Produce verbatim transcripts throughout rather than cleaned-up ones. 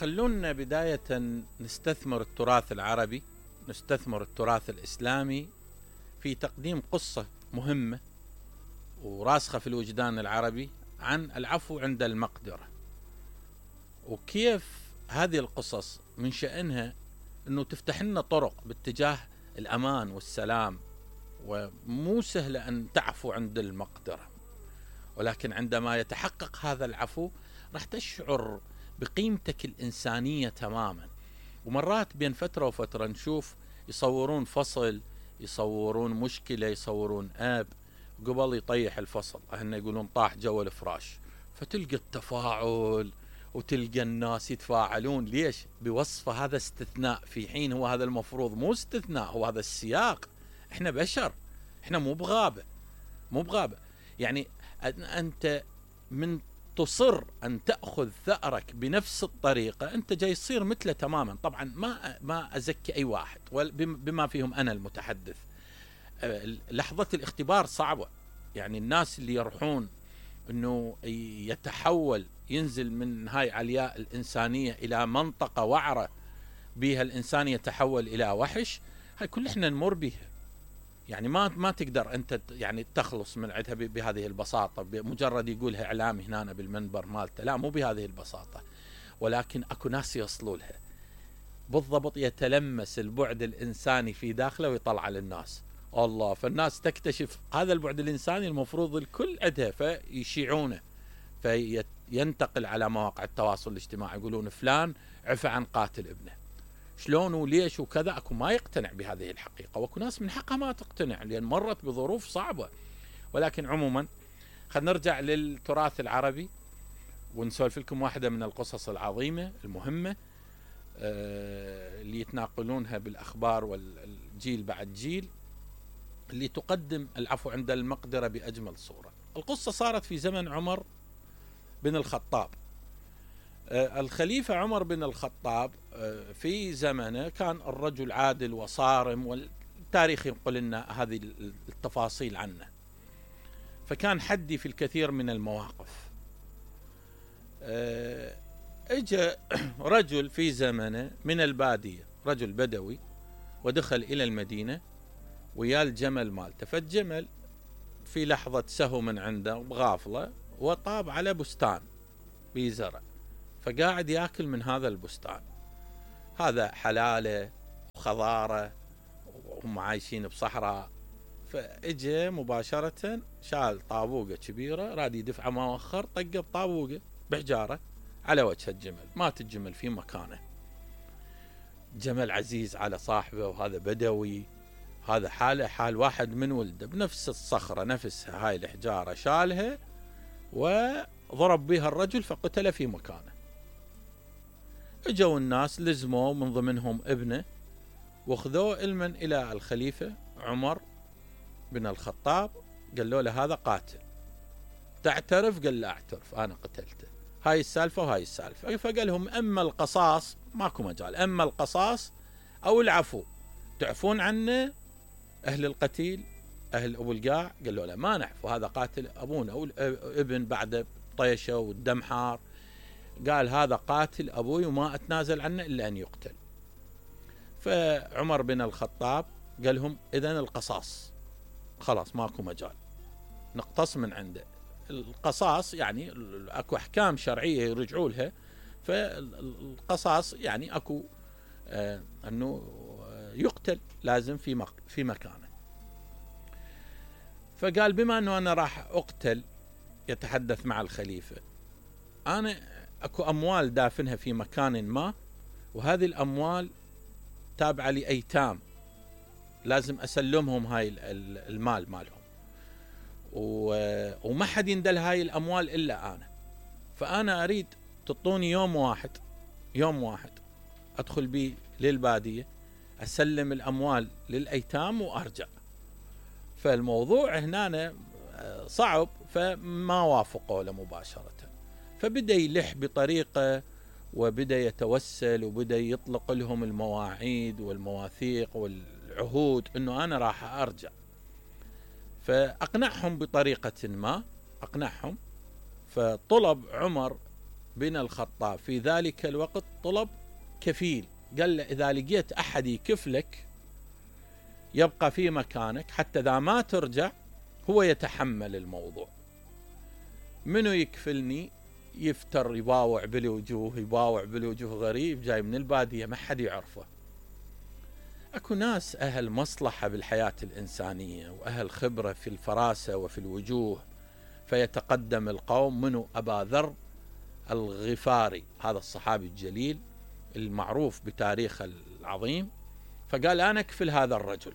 خلونا بداية نستثمر التراث العربي، نستثمر التراث الإسلامي في تقديم قصة مهمة وراسخة في الوجدان العربي عن العفو عند المقدرة، وكيف هذه القصص من شأنها أنه تفتح لنا طرق باتجاه الأمان والسلام. ومو سهلة أن تعفو عند المقدرة، ولكن عندما يتحقق هذا العفو راح تشعر بقيمتك الإنسانية تماما. ومرات بين فترة وفترة نشوف يصورون فصل، يصورون مشكلة، يصورون آب قبل يطيح الفصل، أهنا يقولون طاح جو الفراش، فتلقى التفاعل وتلقى الناس يتفاعلون. ليش؟ بوصفه هذا استثناء، في حين هو هذا المفروض مو استثناء، هو هذا السياق. احنا بشر، احنا مو بغابة، مو بغابة. يعني أنت من تصر أن تأخذ ثأرك بنفس الطريقة أنت جاي يصير مثله تماما. طبعا ما ما أزكي أي واحد بما فيهم أنا المتحدث. لحظة الاختبار صعبة، يعني الناس اللي يروحون أنه يتحول، ينزل من هاي علياء الإنسانية إلى منطقة وعرة بها الإنسان يتحول إلى وحش، هاي كل إحنا نمر بها. يعني ما ما تقدر أنت يعني تخلص من عندها بهذه البساطة، بمجرد يقولها إعلامي هنا بالمنبر مالته، لا مو بهذه البساطة. ولكن أكو ناس يوصلوا لها بالضبط، يتلمس البعد الإنساني في داخله ويطلع للناس الله. فالناس تكتشف هذا البعد الإنساني المفروض الكل عندها، فيشيعونه، فينتقل على مواقع التواصل الاجتماعي، يقولون فلان عفى عن قاتل ابنه، شلون وليش وكذا. أكو ما يقتنع بهذه الحقيقة، وأكو ناس من حقها ما تقتنع لأن مرت بظروف صعبة. ولكن عموما خلينا نرجع للتراث العربي ونسولف لكم واحدة من القصص العظيمة المهمة اللي يتناقلونها بالأخبار والجيل بعد جيل، اللي تقدم العفو عند المقدرة بأجمل صورة. القصة صارت في زمن عمر بن الخطاب. الخليفة عمر بن الخطاب في زمنه كان الرجل عادل وصارم، والتاريخ ينقل لنا هذه التفاصيل عنه. فكان حدي في الكثير من المواقف. اجى رجل في زمنه من البادية، رجل بدوي، ودخل إلى المدينة ويا الجمل مالته. فالجمل في لحظة سهو من عنده بغافلة وطاب على بستان بزرع، فقاعد ياكل من هذا البستان. هذا حلاله وخضاره وهم عايشين بصحراء. فاجى مباشرة شال طابوقة كبيرة راد يدفع مؤخر، طقه بطابوقة بحجارة على وجه الجمل. مات الجمل في مكانه. جمل عزيز على صاحبه، وهذا بدوي، هذا حاله حال واحد من ولده، بنفس الصخرة نفسها هاي الحجارة شالها وضرب بها الرجل فقتل في مكانه. اجوا الناس لزموا من ضمنهم ابنه واخذوه علما الى الخليفة عمر بن الخطاب، قالوا له هذا قاتل، تعترف؟ قال لا اعترف، انا قتلته، هاي السالفة وهاي السالفة. فقال لهم اما القصاص ماكو مجال، اما القصاص او العفو، تعفون عنه اهل القتيل اهل ابو القاع؟ قالوا له ما نعفو، هذا قاتل ابونا او ابن بعد طيشه والدم حار. قال هذا قاتل ابوي وما اتنازل عنه الا ان يقتل. فعمر بن الخطاب قال لهم اذن القصاص، خلاص ماكو مجال، نقتص من عنده. القصاص يعني اكو احكام شرعيه يرجعوا لها، فالقصاص يعني اكو آه انه يقتل لازم في مك في مكانه. فقال بما انه انا راح اقتل، يتحدث مع الخليفة، انا اكو اموال دافنها في مكان ما، وهذه الاموال تابعة لايتام، لازم اسلمهم هاي المال مالهم، وما حد يندل هاي الاموال الا انا. فانا اريد تعطوني يوم واحد، يوم واحد ادخل بيه للبادية، اسلم الاموال للايتام وارجع. فالموضوع هنا صعب، فما وافقوا له مباشرة. فبدأ يلح بطريقة وبدأ يتوسل وبدأ يطلق لهم المواعيد والمواثيق والعهود انه انا راح ارجع. فاقنعهم بطريقة ما، اقنعهم. فطلب عمر بن الخطاب في ذلك الوقت طلب كفيل، قال له إذا لقيت أحد يكفلك يبقى في مكانك حتى إذا ما ترجع هو يتحمل الموضوع. منو يكفلني؟ يفتر يباوع بالوجوه، يباوع بالوجوه، غريب جاي من البادية ما حد يعرفه. أكو ناس أهل مصلحة بالحياة الإنسانية وأهل خبرة في الفراسة وفي الوجوه، فيتقدم القوم. منو؟ أبا ذر الغفاري، هذا الصحابي الجليل المعروف بتاريخه العظيم، فقال أنا أكفل هذا الرجل.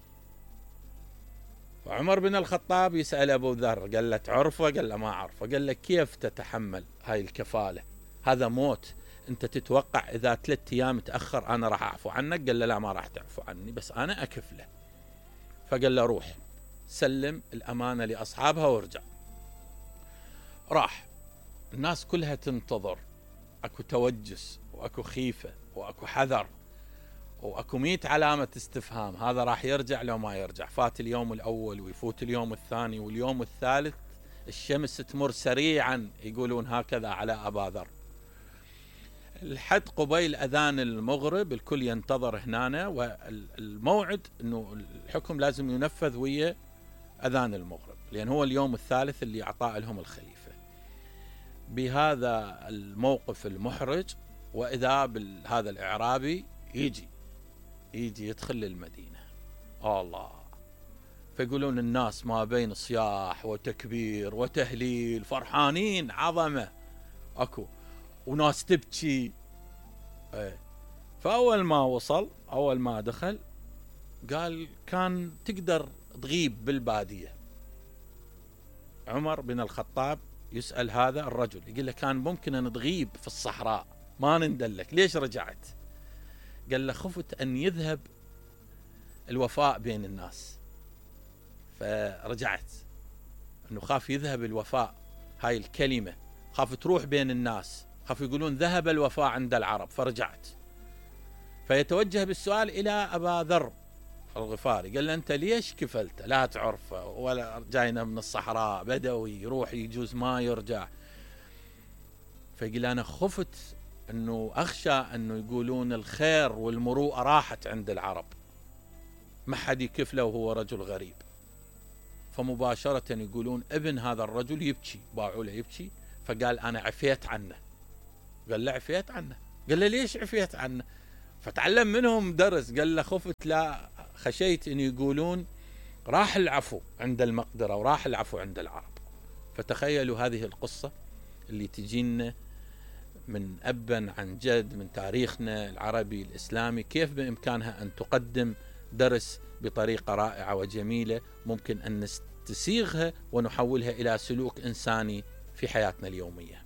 وعمر بن الخطاب يسأل أبو ذر، قال له تعرفه؟ قال له ما أعرفه. قال له كيف تتحمل هاي الكفالة؟ هذا موت، أنت تتوقع إذا ثلاثة أيام تأخر أنا راح أعفو عنك؟ قال له لا ما راح تعفو عني، بس أنا أكفله. فقال له روح سلم الأمانة لأصحابها وارجع. راح، الناس كلها تنتظر، أكو توجس وأكو خيفة وأكو حذر وأكو مئة علامة استفهام، هذا راح يرجع لو ما يرجع. فات اليوم الأول ويفوت اليوم الثاني واليوم الثالث، الشمس تمر سريعا، يقولون هكذا على أبا ذر. الحد قبيل أذان المغرب الكل ينتظر هنا، والموعد أنه الحكم لازم ينفذ ويا أذان المغرب، لأن هو اليوم الثالث اللي أعطاه لهم الخليفة. بهذا الموقف المحرج، وإذا بهذا الإعرابي يجي يجي يدخل للمدينة. الله، فيقولون الناس ما بين صياح وتكبير وتهليل، فرحانين عظمة، أكو وناس تبكي. ايه. فأول ما وصل، أول ما دخل، قال كان تقدر تغيب بالبادية. عمر بن الخطاب يسأل هذا الرجل، يقول له كان ممكن أن تغيب في الصحراء ما نندلك، ليش رجعت؟ قال له خفت أن يذهب الوفاء بين الناس، فرجعت. أنه خاف يذهب الوفاء، هاي الكلمة خاف تروح بين الناس، خاف يقولون ذهب الوفاء عند العرب، فرجعت. فيتوجه بالسؤال إلى أبا ذر الغفاري، قال له أنت ليش كفلت؟ لا تعرفه ولا جاينا من الصحراء، بدوي يروح يجوز ما يرجع. فيقول أنا خفت أنه أخشى أنه يقولون الخير والمروءة راحت عند العرب، ما حد يكفله وهو رجل غريب. فمباشرة يقولون ابن هذا الرجل يبكي، باعوا له يبكي. فقال أنا عفيت عنه. قال له عفيت عنه؟ قال له ليش عفيت عنه؟ فتعلم منهم درس. قال له خفت، لا خشيت أن يقولون راح العفو عند المقدرة وراح العفو عند العرب. فتخيلوا هذه القصة اللي تجينا من أبا عن جد من تاريخنا العربي الإسلامي، كيف بإمكانها أن تقدم درس بطريقة رائعة وجميلة، ممكن أن نستسيغها ونحولها إلى سلوك إنساني في حياتنا اليومية.